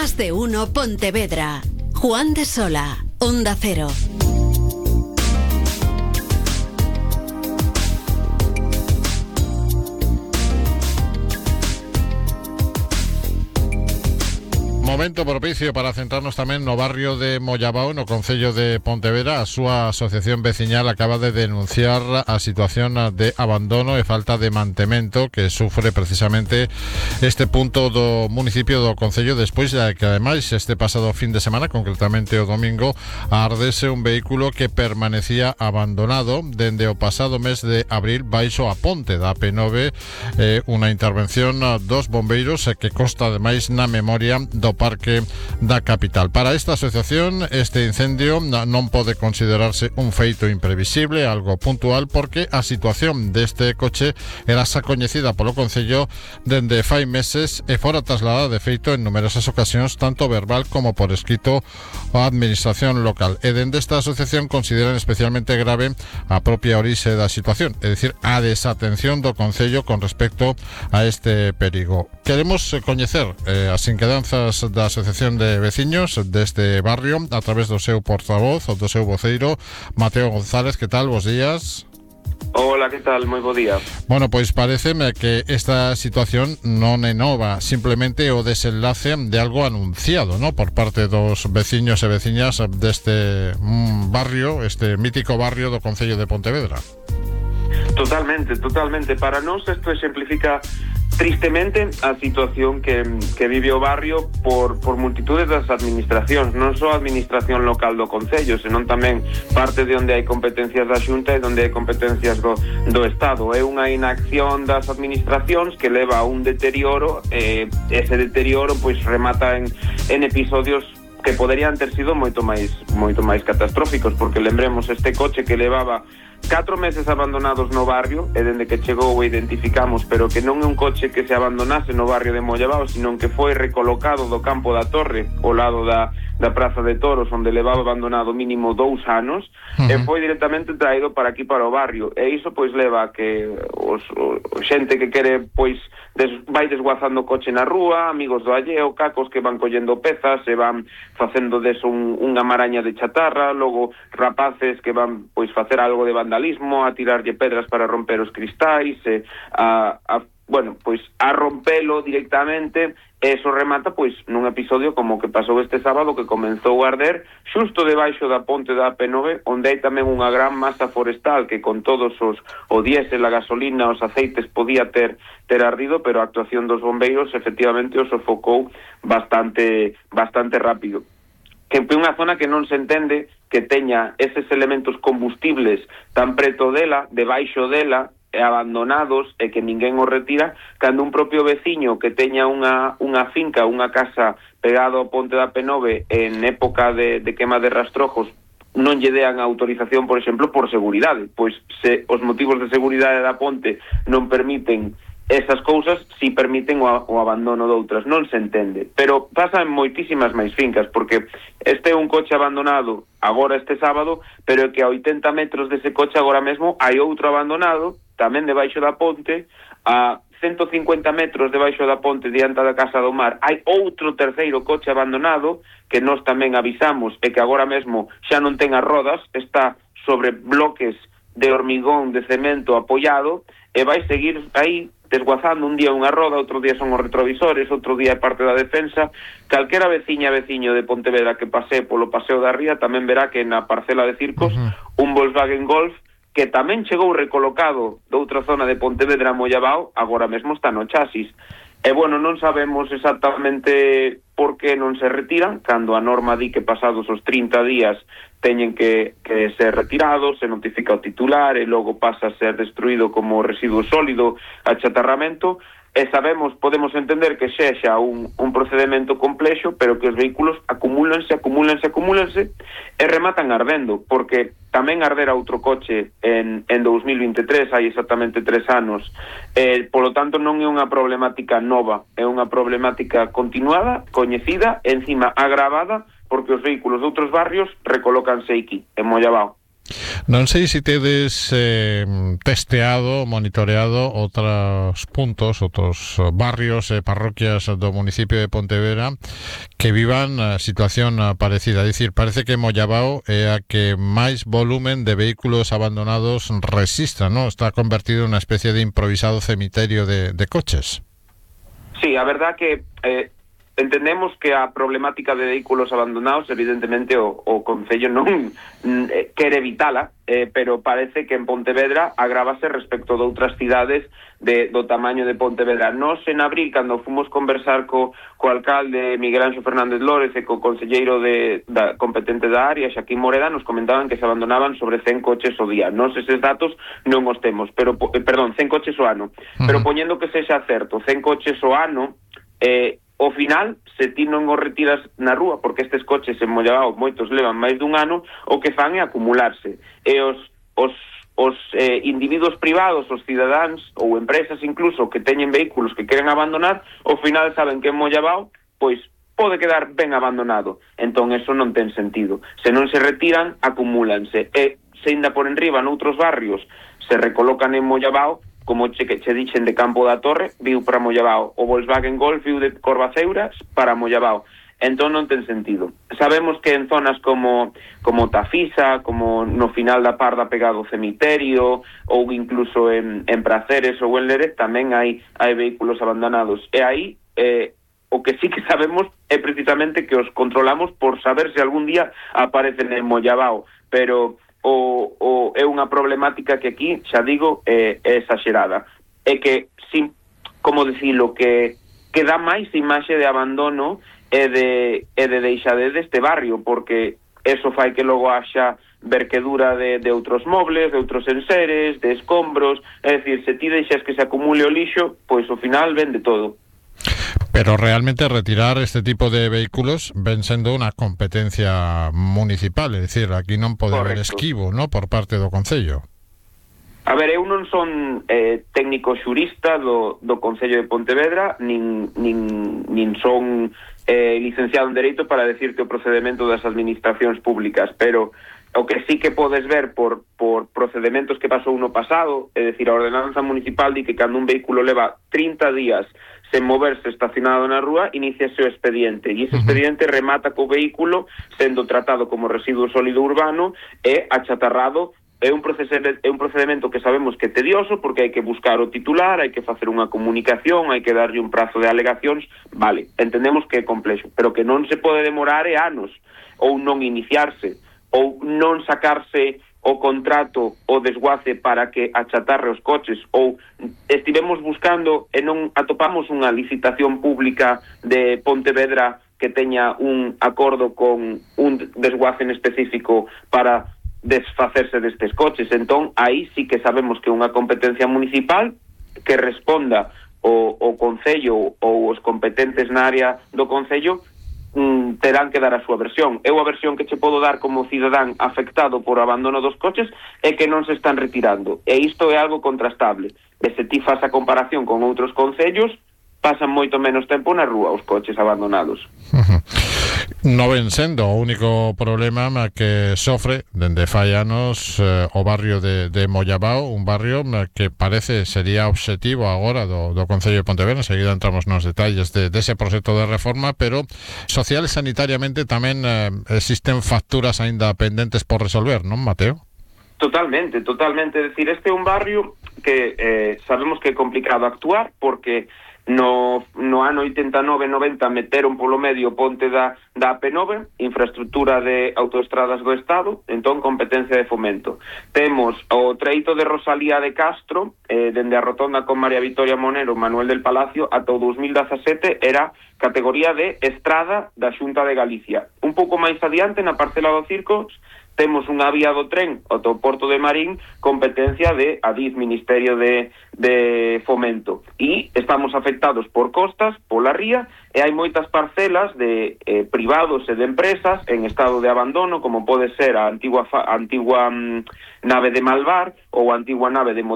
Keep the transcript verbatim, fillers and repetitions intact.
Más de uno Pontevedra. Juan de Sola, Onda Cero. Momento propicio para centrarnos tamén no barrio de Mollabao, no concello de Pontevedra. A súa asociación veciñal acaba de denunciar a situación de abandono e falta de mantemento que sufre precisamente este punto do municipio do concello, despois de que ademais este pasado fin de semana, concretamente o domingo, ardese un vehículo que permanecía abandonado dende o pasado mes de abril baixo a ponte da A P nove, eh, unha intervención dos bombeiros que consta ademais na memoria do parque da capital. Para esta asociación, este incendio non pode considerarse un feito imprevisible, algo puntual, porque a situación deste coche era xa coñecida polo concello dende fai meses e fora trasladada de feito en numerosas ocasións, tanto verbal como por escrito, á administración local. E dende esta asociación consideran especialmente grave a propia orixe da situación, é dicir, a desatención do concello con respecto a este perigo. Queremos coñecer eh, as inquedanzas da Asociación de Veciños deste barrio a través do seu portavoz, do seu voceiro, Mateo González. Que tal? Bos días. Hola, que tal? Moi bo día. Bueno, pois pareceme que esta situación non é nova, simplemente o desenlace de algo anunciado, ¿no?, por parte dos veciños e veciñas deste mm, barrio, este mítico barrio do concello de Pontevedra. Totalmente, totalmente. Para nós isto exemplifica tristemente a situación que, que vive o barrio por, por multitudes das administracións, non só a administración local do concello, senón tamén parte de onde hai competencias da Xunta e onde hai competencias do, do Estado. É unha inacción das administracións que leva a un deterioro, e ese deterioro pois remata en, en episodios que poderían ter sido moito máis moito máis catastróficos, porque lembremos este coche que levaba catro meses abandonados no barrio, e dende que chegou o identificamos, pero que non é un coche que se abandonase no barrio de Mollabao, sino que foi recolocado do campo da Torre ao lado da, da Praza de Toros, onde levaba abandonado mínimo dous anos, uh-huh. e foi directamente traído para aquí, para o barrio, e iso pois leva a que os, o, o xente que quere pois des, vai desguazando o coche na rúa, amigos do alleo, cacos que van collendo pezas e van facendo deso un, unha maraña de chatarra, logo rapaces que van pois facer algo de vandalismo, a tirarlle pedras para romper os cristais, e a, a bueno, pois a rompelo directamente. Eso remata pois nun episodio como que pasou este sábado, que comenzou a arder xusto debaixo da ponte da A P nove, onde hai tamén unha gran masa forestal que con todos os o diésel, a gasolina, os aceites podía ter ter ardido, pero a actuación dos bombeiros efectivamente o sofocou bastante bastante rápido. Que é unha zona que non se entende que teña eses elementos combustibles tan preto dela, debaixo dela, e abandonados, e que ninguén os retira, cando un propio veciño que teña unha, unha finca, unha casa pegado ao ponte da A P nove en época de, de quema de rastrojos, non lle dean autorización, por exemplo, por seguridade, pois se os motivos de seguridade da ponte non permiten esas cousas, si permiten o, o abandono de outras, non se entende. Pero pasa en moitísimas máis fincas, porque este é un coche abandonado agora este sábado, pero é que a oitenta metros dese coche agora mesmo hai outro abandonado, tamén debaixo da ponte, a ciento cincuenta metros debaixo da ponte diante da Casa do Mar hai outro terceiro coche abandonado, que nós tamén avisamos, e que agora mesmo xa non ten as rodas, está sobre bloques de hormigón, de cemento apoiado, e vai seguir aí desguazando, un día unha roda, outro día son os retrovisores, outro día é parte da defensa. Calquera veciña veciño de Pontevedra que pase polo Paseo da Ría tamén verá que na parcela de Circos uh-huh. un Volkswagen Golf que tamén chegou recolocado de outra zona de Pontevedra a Mollabao, agora mesmo está no chasis. E, bueno, non sabemos exactamente por que non se retiran, cando a norma di que pasados os trinta días teñen que, que ser retirados, se notifica o titular e logo pasa a ser destruído como residuo sólido, achatarramento, e sabemos, podemos entender que sexa un, un procedimento complexo, pero que os vehículos acumúlanse, acumúlanse, acumúlanse e rematan ardendo, porque tamén ardera outro coche en, en dous mil vinte e tres, hai exactamente tres anos, eh, polo tanto non é unha problemática nova, é unha problemática continuada, coñecida, encima agravada, porque os vehículos de outros barrios recolócanse aquí, en Mollabao. Non sei se tedes eh, testeado, monitoreado outros puntos, outros barrios e eh, parroquias do municipio de Pontevedra que vivan a situación parecida. É dicir, parece que Mollabao é a que máis volumen de vehículos abandonados resistra, ¿no? Está convertido en unha especie de improvisado cemiterio de, de coches. Sí, a verdad que eh, entendemos que a problemática de vehículos abandonados, evidentemente o, o Concello non eh, quere evitala, eh, pero parece que en Pontevedra agrávase respecto de outras cidades de, do tamaño de Pontevedra. Nos en abril, cando fomos conversar co, co alcalde Miguel Anxo Fernández Lórez e co conselleiro de, da, competente da área, Xaquín Moreda, nos comentaban que se abandonaban sobre cen coches ao día. Nos eses datos non os temos, pero, eh, perdón, cen coches ao ano. Uh-huh. Pero poñendo que sexa certo, cen coches ao ano, eh, ao final, se ti non os retiras na rúa, porque estes coches en Mollabao moitos levan máis dun ano, o que fan é acumularse. E os, os, os eh, individuos privados, os cidadáns ou empresas incluso que teñen vehículos que queren abandonar, ao final saben que en Mollabao, pois, pode quedar ben abandonado. Entón, eso non ten sentido. Se non se retiran, acumúlanse. E se ainda por enriba noutros barrios se recolocan en Mollabao, como che, que che dixen de Campo da Torre, viu para Mollabao. O Volkswagen Golf viu de Corvaceuras para Mollabao. Entón non ten sentido. Sabemos que en zonas como como Tafisa, como no final da Parda pegado ao cemiterio, ou incluso en, en Praceres ou en Lérez, tamén hai, hai vehículos abandonados. E aí, eh, o que sí que sabemos é precisamente que os controlamos por saber se algún día aparecen en Mollabao. Pero O, o é unha problemática que aquí, xa digo, é, é exagerada. É que, sin, como dicilo, que, que dá máis imaxe de abandono e de, e de deixade deste barrio, porque eso fai que logo haxa verquedura de, de outros mobles, de outros enseres, de escombros. É dicir, se ti deixas que se acumule o lixo, pois ao final vende todo. Pero realmente retirar este tipo de vehículos ven sendo unha competencia municipal, é dicir, aquí non pode haber esquivo, ¿no?, por parte do Concello. A ver, eu non son eh, técnico xurista do, do Concello de Pontevedra, nin, nin, nin son eh, licenciado en Dereito para decirte o procedemento das administracións públicas, pero o que sí que podes ver por, por procedementos que pasou no pasado, é dicir, a ordenanza municipal di que cando un vehículo leva trinta días sen moverse estacionado na rúa, iniciase o expediente, e ese expediente remata co vehículo sendo tratado como residuo sólido urbano e achatarrado. É un procedimento, é un procedimento que sabemos que é tedioso, porque hai que buscar o titular, hai que facer unha comunicación, hai que darlle un prazo de alegacións. Vale, entendemos que é complexo, pero que non se pode demorar é anos, ou non iniciarse, ou non sacarse o contrato o desguace para que achatarre os coches, ou estivemos buscando e non atopamos unha licitación pública de Pontevedra que teña un acordo con un desguace en específico para desfacerse destes coches. Entón, aí sí que sabemos que unha competencia municipal que responda o, o Concello ou os competentes na área do Concello Mm, terán que dar a súa versión. Eu a versión que che podo dar como cidadán afectado por o abandono dos coches é que non se están retirando, e isto é algo contrastable. E se ti faz a comparación con outros concellos, pasan moito menos tempo na rúa os coches abandonados. Uh-huh. Non ven sendo o único problema que sofre dende fai anos eh, o barrio de, de Mollabao, un barrio que parece sería obxectivo agora do, do Concello de Pontevedra. Enseguida entramos nos detalles de, de ese proxecto de reforma, pero social e sanitariamente tamén eh, existen facturas aínda pendentes por resolver, non, Mateo? Totalmente, totalmente. É dicir, este é un barrio que eh, sabemos que é complicado actuar, porque No, no ano oitenta e nove noventa meteron polo medio ponte da, da A P nove, infraestructura de autoestradas do Estado, entón competencia de fomento. Temos o treito de Rosalía de Castro, eh, dende a rotonda con María Victoria Monero, Manuel del Palacio, ata o dous mil dezasete era categoría de estrada da Xunta de Galicia. Un pouco máis adiante, na parcela do Circos, temos unha vía do tren ata o Porto de Marín, competencia de Adif, Ministerio de, de Fomento. E estamos afectados por costas, pola ría, e hai moitas parcelas de eh, privados e de empresas en estado de abandono, como pode ser a antigua, fa, a antigua mm, nave de Malvar ou a antigua nave de